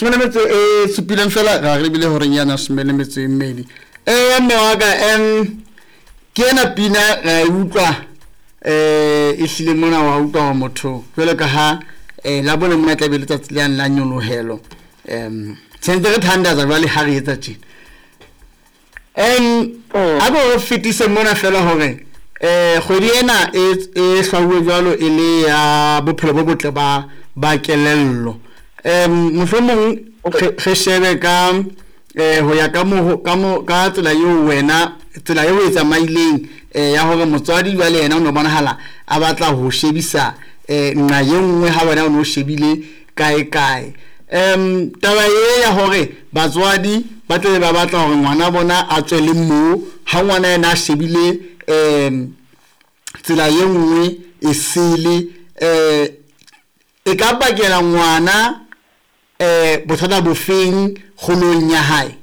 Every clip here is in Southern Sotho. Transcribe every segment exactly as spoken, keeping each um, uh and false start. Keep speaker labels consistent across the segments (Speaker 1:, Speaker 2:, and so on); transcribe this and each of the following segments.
Speaker 1: Some le metso e supileng fela ra re lebile horeng yana some le metso e mmedi. Eh mme wa ka, em ke ena pina ra e utlwa, eh e hlile mona wa utlwa hore motho jwalo ka ha eh la bone mona tla be letsatsi le yang la nyolohelo. Em tshwanetse re thandaza jwale ha re etsa tjena. Em a bo fetise mona fela hore eh kgwedi ena e e hlwauwe jwalo e le ya bophelo bo botle ba ba kelello. Em mohlomong re shebe ka eh ho ya ka mo ka mo ka tsela eo wena tsela eo e tsamaileng eh ya hore motswadi jwale yena o no bonahala a batla ho shebisa eh nqa e nngwe ha wena o no shebile kae kae. Em taba e ya hore batswadi ba tle ba batla hore ngwana bona a tswe le mo ha ngwana yena a shebile em tsela e nngwe e sele, eh e ka bakela ngwana eh bothata bofeng kgolong ya hae?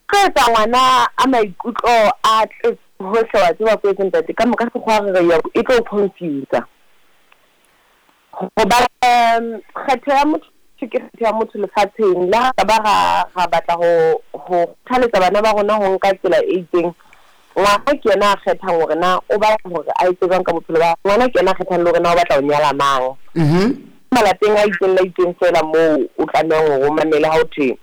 Speaker 2: Ke tsa ngwana a maikutlo a tletse hohle, wa tseba ko etseng ntate, ka moka sekgwa re ya e tlo confuse. Hoba kgetho ya motho ke kgetho ya motho lefatsheng, le ha ba ra ra batla ho ho kgothaletsa bana ba rona ho nka tsela e itseng, ngwana ke yena a kgethang hore na o batla hore a etse jwang ka bophelo ba ngwana, ke yena a kgethang le hore na o batla ho nyala mang.
Speaker 1: Mhm.
Speaker 2: Malapeng a itseng la itseng fela moo o tlamehang hore o mamele ha o thwe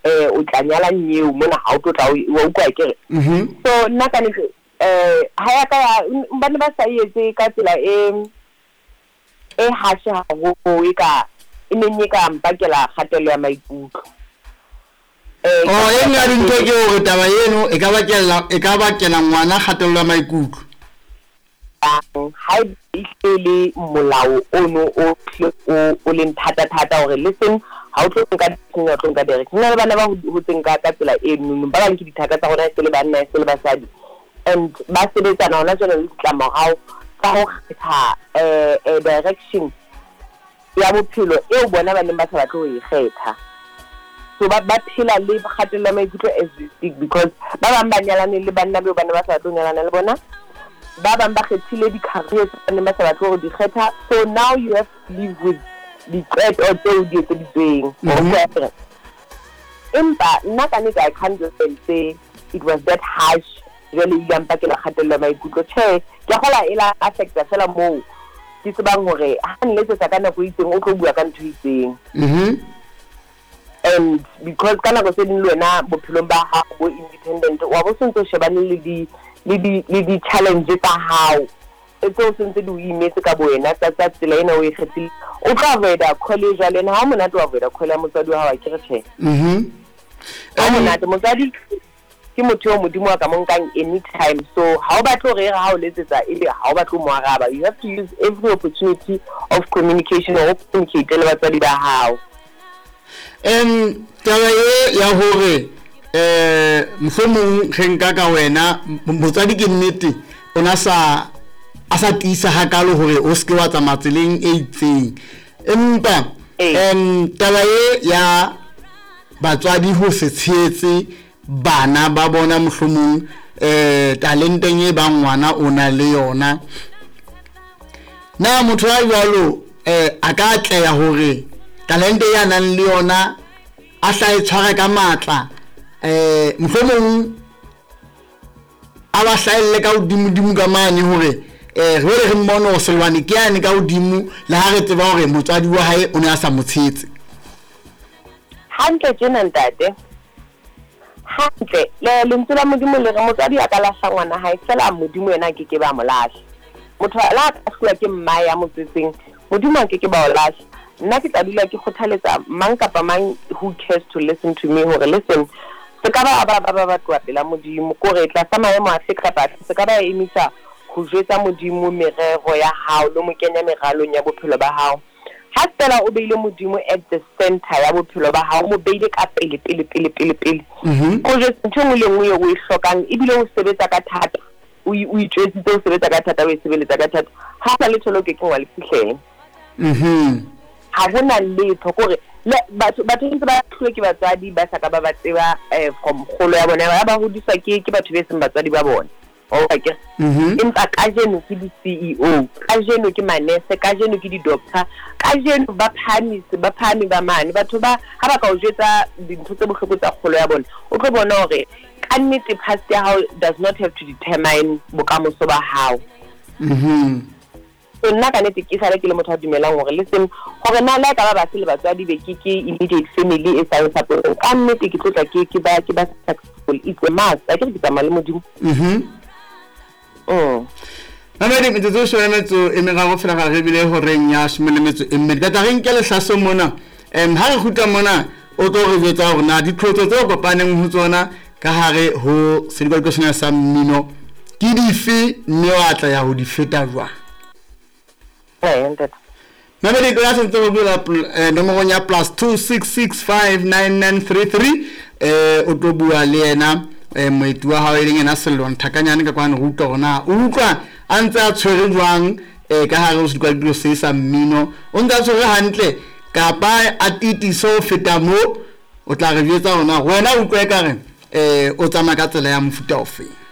Speaker 2: eh o tla nyala nyeo mona ha o tlo tla wa utlwa ke re.
Speaker 1: Mhm.
Speaker 2: So nna ka nnete eh ha ya ka ya bana ba sa etse ka tsela e e hashe haholo e ka e neng e ka mpakela kgatello ya maikutlo. Eh
Speaker 1: Oh, e nngwe ya dintho ke hore taba eno e ka bakela e ka bakela ngwana kgatello ya maikutlo.
Speaker 2: Ha e le molao ono o o o leng thata thata hore listen ha o tlo nka direction, o tlo nka direction. Nna le bana ba hotseng ka ka tsela e nngwe, ba bang ke dithaka tsa rona e se le banna e se le basadi, and ba sebetsana hona jwale le ditlamorao tsa ho kgetha eh eh direction ya bophelo eo bona ba neng ba sa batle ho e kgetha. So ba ba phela le kgatello ya maikutlo as we speak, because ba bang ba nyalane le banna beo ba ne ba sa batle ho nyalana le bona, ba bang ba kgethile di-career tse ba neng ba sa batle ho di kgetha. So now you have to live with diqeto tseo di etseditsweng.
Speaker 1: Mhm.
Speaker 2: Empa nna ka nnete I can't just say it was that harsh jwale ile ya mpakela kgatello ya maikutlo. Tjhe, ke a kgolwa e la affecta fela moo ke tsebang hore ha nletsetsa ka nako e itseng o tlo bua ka ntho e itseng.
Speaker 1: Mhm.
Speaker 2: And because ka nako tse ding le wena bophelong ba hao bo independent, wa bo sentse o shebane le di le di le di challenge tsa hao tseo sentse di o imetse ka bo wena tsa tsa tsela ena o e kgethile. O tlo avoida call e jwale, ene ha o monate wa avoida call ya motswadi wa hao, a ke re tjhe.
Speaker 1: Mhm.
Speaker 2: Ha o monate, motswadi ke motho eo Modimo a ka mo nkang anytime, so ha o batle hore e re ha o letsetsa ebe ha o batle ho mo araba. You have to use every opportunity of communication hore o communicate le batswadi ba hao.
Speaker 1: Em taba e ya hore eh mohlomong re nka ka wena motswadi ke nnete o na sa a sa tiisa hakalo hore o seke wa tsamaya tseleng e itseng, empa em taba e ya batswadi ho se tshehetse bana ba bona mohlomong eh talenteng e bang ngwana o na le yona, na motho ya jwalo eh a ka atleha hore talente ya nang le yona a hla e tshware ka matla, eh mohlomong a ba hlahelle ka hodimo-dimo ka mane hore eh re re mmone hore Sellwane ke yane ka hodimo, le ha re tseba hore motswadi wa hae o ne a sa mo tshehetse.
Speaker 2: Hantle tjena ntate, hantle le lentswe la Modimo le re motswadi a ka lahla ngwana hae, fela Modimo yena a keke ba mo lahla. Motho la ka hlolwa ke mmae ya mo tswetseng, Modimo a keke ba o lahla. Nna ke tla dula ke kgothaletsa mang kapa mang who cares to listen to me hore listen, se ka ba ba ba ba ba tloha pela Modimo, kore tlasa maemo afe kapa afe, se ka ba emisa ho jwetsa Modimo merero ya hao le mo kenya meralong ya bophelo ba hao. Ha fela o beile Modimo at the center ya bophelo ba hao, o mo beile ka pele pele pele pele pele.
Speaker 1: Mhm.
Speaker 2: O jwetse ntho e nngwe le nngwe eo o e hlokang, ebile o sebetsa ka thata, o i-, o itjwetsitse o sebetsa ka thata, o e sebeletsa ka thata, ha o sa letho leo o kekeng wa le fihlela.
Speaker 1: Mhm.
Speaker 2: Ha hona letho, kore le batho, batho ntse ba hluwe ke batswadi ba sa ka ba ba tseba, eh, from kgolo ya bona, ba ba hodiswa ke, ke batho be seng batswadi ba bona. Okay. Empa kajeno ke di-C E O, kajeno ke manese, kajeno ke di-doctor, kajeno ba phahamise ba phahame ba mane. Batho ba ha ba ka o jwetsa dintho tse bohloko tsa kgolo ya bona, o tlo bona hore ka nnete past ya hao does not have to determine bokamoso ba hao.
Speaker 1: Mhm.
Speaker 2: So nna ka nnete ke sale ke le motho a dumelang hore, listen, hore na le ha e ka ba ba se le batswadi be ke ke immediate family e sa support, ka nnete ke tlo tla ke ke ba ke ba successful. It's a must, a ke re ke tsamaya le Modimo.
Speaker 1: Mhm.
Speaker 2: mm.
Speaker 1: Mamedi, metsotso e shome le metso e meraro fela ga re bile horeng ya shome le metso e mmedi. Ka tla re nke lehlaso mona. um ha re kgutla mona, o tlo re jwetsa hore na diqholotso tse o kopaneng ho tsona ka hare ho sedikadiko sena sa mmino ke dife, mme wa tla ya ho di feta jwang.
Speaker 2: Eh, ntate.
Speaker 1: Mamedi, ko ya sentse go bula pl- eh, nomorong ya plus two six six five nine nine three three, eh o tlo bua le yena eh moeti wa hao e leng yena Sello Nthakanyane ka kwano. Re utlwa hore na o utlwa a ntse a tshwere jwang eh ka hare ho sedikadiko se sa mmino, o ntse a tshwere hantle kapa a titiso ho feta mo. O tla re jwetsa hore na wena o utlwa ekare eh o tsamaya ka tsela ya mofuta ofeng.